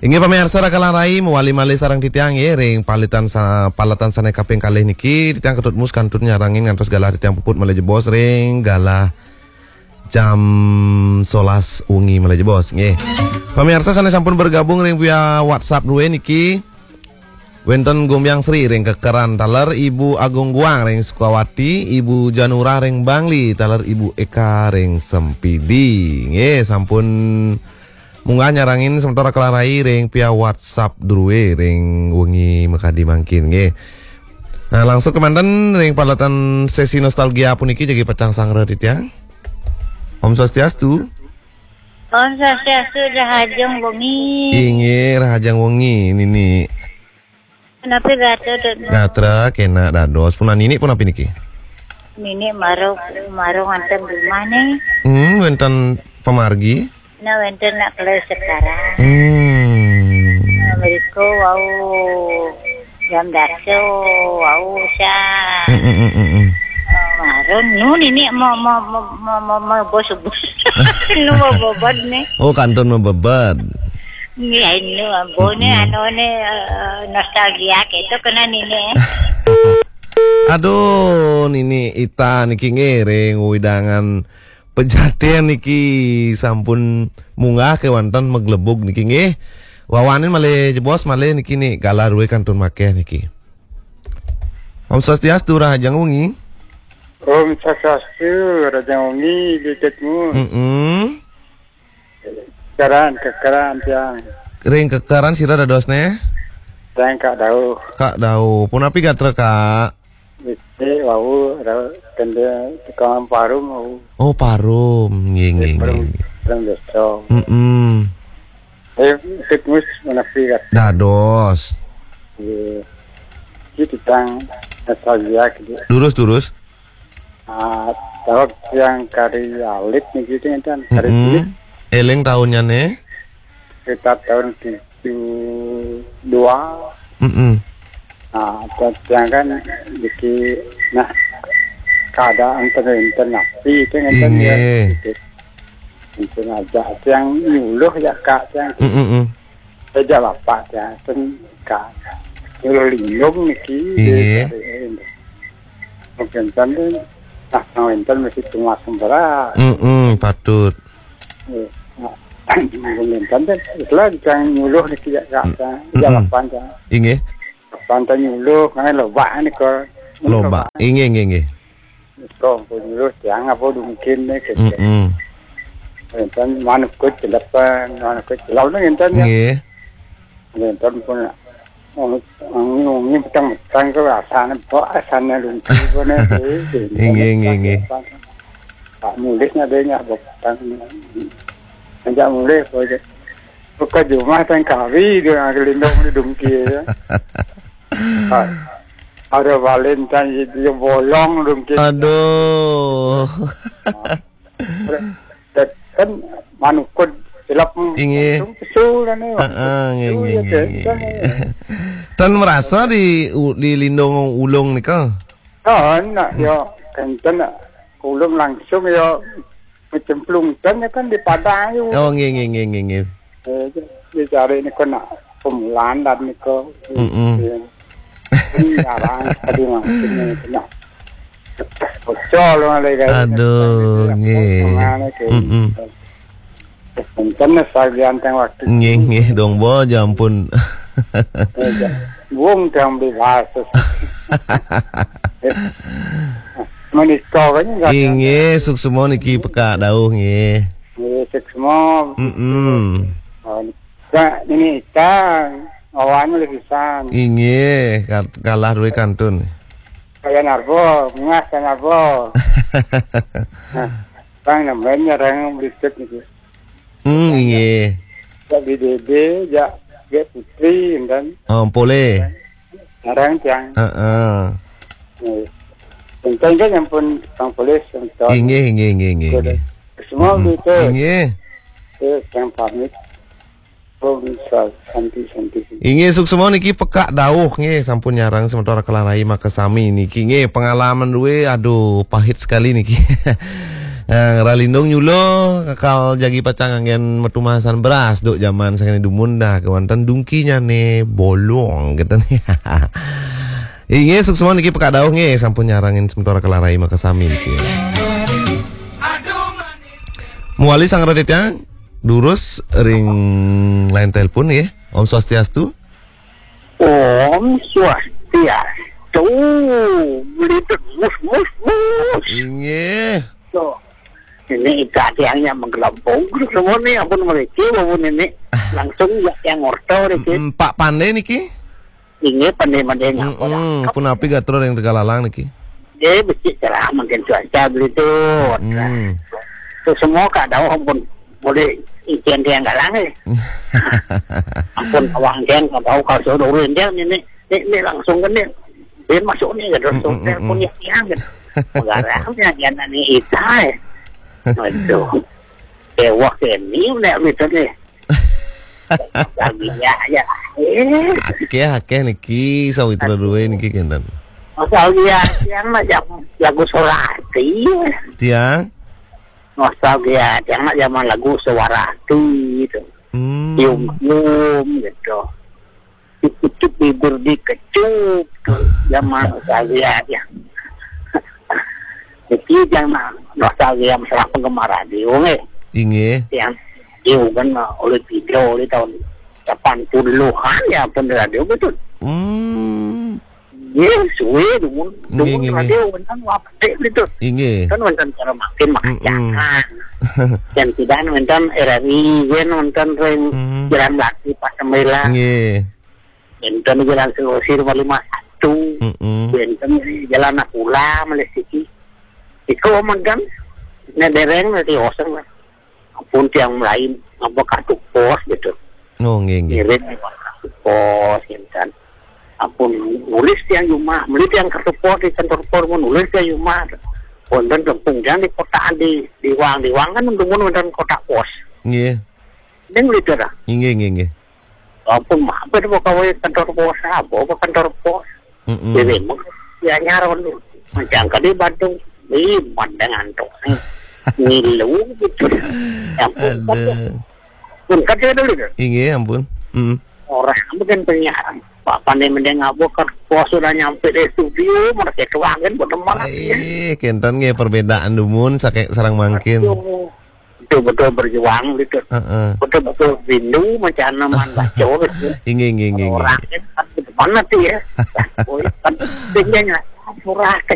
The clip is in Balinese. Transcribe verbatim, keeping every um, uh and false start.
Inggih pamiarsa, raka lan rai, mawali malih sareng titiang nggih ring paletan sa-, paletan sane kaping kalih niki, titiang Ketut Mus kantun nyarengin ngantos galah titiang puput malih jebos ring galah jam solas wengi malih jebos nggih. Pamiarsa sane sampun bergabung ring via WhatsApp druwe niki, wenten Gumbyang Sri ring Kekeran, taler Ibu Agung Guang ring Sukawati, Ibu Janura ring Bangli, taler Ibu Eka ring Sempidi. Nggih, sampun munggah nyarengin semeton raka lan rai ring via WhatsApp druwe ring wengi makadi mangkin nggih. Nah, langsung kemanten ring paletan sesi nostalgia puniki jagi pacang sanggra titiang. Om Swastiastu. Om Swastiastu, rahajeng wengi. Inggih, rahajeng wengi, Nini. Napi gatra, Dut? Gatra kenak dados. Punapi Nini, punapi niki? Nini mara, mara wonten rumah nih. Hmm, wenten pamargi? Nah, wenten nak kelas sekarang. Hmm. Nah, mrika wau jam dasa, wau sa. Hmm, hmm, hmm, hmm, hmm. Eh, mara nu Nini mau, mau, mau, mau, mau, mau bos-bos. Nu mau bobot nih. Oh, kantun mabebet. Nggih, anu, ambone, hmm, anu ne, eh, nostalgia gitu kena Nini. Aduh, Nini Ita niki nggih ring wewidangan Pejaten niki sampun munggah kewanten maglebug niki nggih. Wawanin malih jebos malih niki nih, galah druwe kantun makeh niki. Om Swastiastu, rahajeng wengi. Om Swastiastu, rahajeng wengi, Dut Mus. Mm-mm. Kekeran, Kekeran tiang. Ring Kekeran sira dadosne? Tiang Kak Dauh. Kak Dauh. Punapi gatra, Kak? Wis wau, ra-, kende tukang parum wau. Oh, parum. Nggih, nggih, nggih, parum, nggih. Parum desa. Mm-mm. Eh, Dut Mus, punapi gatra? Dados. Nggih. Iki titiang nostalgia gitu. Durus, durus. Ah, taun tiang kari alit niki, ngenten, kari, mm-mm, cilik. Eling taunnyane? Sekitar tahun tujuh dua. Mm-mm. Nah, tiang kan niki, nah, keadaan ten-, ten napi itu ngenten ya, inggih, gitu. Ngenten aja tiang nyuluh ya, Kak, tiang. Mm-mm. Ejak bapak tiang ten ka nyuluh lindung niki, inggih, di kari. Mungkin ten, nah, wenten mesti tumas sembara. Mm-mm, patut. Eh, nah, mungkin ten, itulah tiang nyuluh niki ya, Kak, tiang. Ejak, mm-mm, bapak tiang. Inggih. Bapak tiang nyuluh, kan loba nika. Loba. Loba. Inggih, inggih, inggih. Kok nyuluh tiang apa dungkin nih, gitu. Mm-mm. Enten manukut celepan, manukut celap nih enten ya. Nggih. Enten pun wangi-wangi petang-petang ke rasane, kok asane lungki pun, eh, eh, eh, inggih, inggih, inggih. Pak Mulih nya dia nya petang. Ajak Mulih, kok aja. Buka jumah tang kari dia nang lindung di dungki ya. Ah, ada Valentine itu ya bolong dungki. Aduh. Nah, kan manukut celap, inggih, langsung pesul kan ya. Heeh, nggih, pesul nggih, ya, nggih, kenten nggih, ya. Tan merasa di u-, di lindung ulung nika? Oh, nak, hmm, ya, kenten nak. Ulung langsung ya kecemplung ten ya kan di padang ya. Oh, nggih, nggih, nggih, nggih, nggih. Eh, dicari nika nak pemulan dan nika. Mm-mm. Ya. Ini jarang sekali mangkin ini kena. Bocor malah, guys. Aduh, nggih. Kemana ke? Mm-mm. Kencen sagian teng waktu. Nggih, nggih, dong, bo, ya ampun. Ya, ya. Wong tang bebas. Menika kan nggak ada. Inggih, suksma niki pekak dawuh, nggih. Nggih, suksma. Mm-mm. Oh, Kak, niki Ita, awan oleh pisan. Inggih, ka-, kalah duwe kantun. Kaya Narbo, ngah Kaya Narbo. Nah, Bang, namanya orang berikut niki. Hmm, inggih. Jak B D B, jak Gek Putri, enten. Oh, polih. Orang tiang. Heeh. Nggih. Enten kan ampun Bang Polih, enten. Inggih, inggih, inggih, inggih, inggih. Semua, hmm, begitu. Inggih. Eh, yang pamit. Om Swa-, Santi, Santi, Santi. Inggih, suksma niki pekak dawuh nggih, sampun nyarengin semeton Raka lan Rai makasami niki nggih, pengalaman duwe, aduh, pahit sekali niki. Ralindung nyulo, kakal jagi pacang anggén matumasan beras, duk jaman sakéné dumun dah, kéwanten dungkinya né bolong, kéto né. Inggih, suksma niki Pak Dauh nggih, sampun nyarengin semeton Kelarai makasami niki. Mawali sareng titiang, durus ring line telepon nggih. Om Swastiastu. Om Swastiastu. Beli mus, mus, mus. Inggih. Tuh. Ini ika tiangnya menggelempung. Semua nih, ampun mereka, ampun ini. Langsung ya yang orto, niki. Mm, Pak Pandé niki? Inggih, pandé-pandé ngapa dah. Mm-mm, punapi gatra ring Tegalalang niki? Eh, becik cerah mangkin cuaca belitu. Mm. Terus semua Kak Dauh ampun boleh izin tiang galang, eh. Ampun awang tiang Kak Dauh kalau suruh dulu tiang ini, ini, ini langsung ke nih. Dia masuk nih, gitu. Mm, mm, mm, telepon mm. Ya tiang, gitu. Menggarang ya, dia nanya Ita, eh. Aduh. Ewak ini udah gitu nih. Nostalgia ya. Eh. Akéh, akéh niki sawitra duwé niki kénten. Nostalgia tiang mah jam lagu Suwarati. Tiang? Nostalgia tiang mah zaman lagu Suwarati itu. Hmm. Cium-cium gitu. Dikucuk bibir dikecup. Zaman nostalgia ya. Niki zaman nostalgia masalah penggemar radio nggih. Inggih. Yang radio kan, uh, oleh video oleh tahun delapan puluhan ya pun radio betul. Hmm. Nggih, suwe dumun, nggih, dumun nggih, nggih. Radio wénten wapék betul. Inggih. Kan wénten cara makin Mm-mm. Makan. Dan tidak wénten R R I, wénten ring Hmm. Jalan Melati pas sembilan. Nggih. Wénten Jalan Sulawesi nomor lima satu. Mm-mm. Wénten Jalan Nakula malih siki. Iku mangkin nek dereng nanti oseng. Ampun tiang lain ngapa kartu pos gitu. Oh, nggih, nggih. Ngirim kartu pos gitu kan. Ampun nulis tiang jumah, beli tiang kartu pos di kantor pos, nulis tiang jumah. Wonten kampung tiang di kotaan di, di Wang, di Wang kan dumun wonten kotak pos. Nggih. Ning beli dah. Nggih, nggih, nggih. Ampun mampir bawa kawé kantor pos, apa, apa kantor pos. Mm-mm. Jadi, mung, ya nyaron. Macam kali Bandung, ih, bandeng antuk. Ngilu gitu. Ya ampun, aduh. Pun kata dulu dah. Inggih, ampun. Mm. Orang mungkin penyiar. Pak Pandé mending ngabuk kan pos sudah nyampe di studio, mereka tuangin buat teman. Eh, kénten nggih perbedaan dumun saké sareng mangkin. Aduh. Betul-betul berjuang gitu. Heeh. Betul-betul rindu macam mana baca gitu. Inggih, inggih, inggih, inggih. Orang kan gitu. Mana tuh ya? Oh, kan tingginya murah ke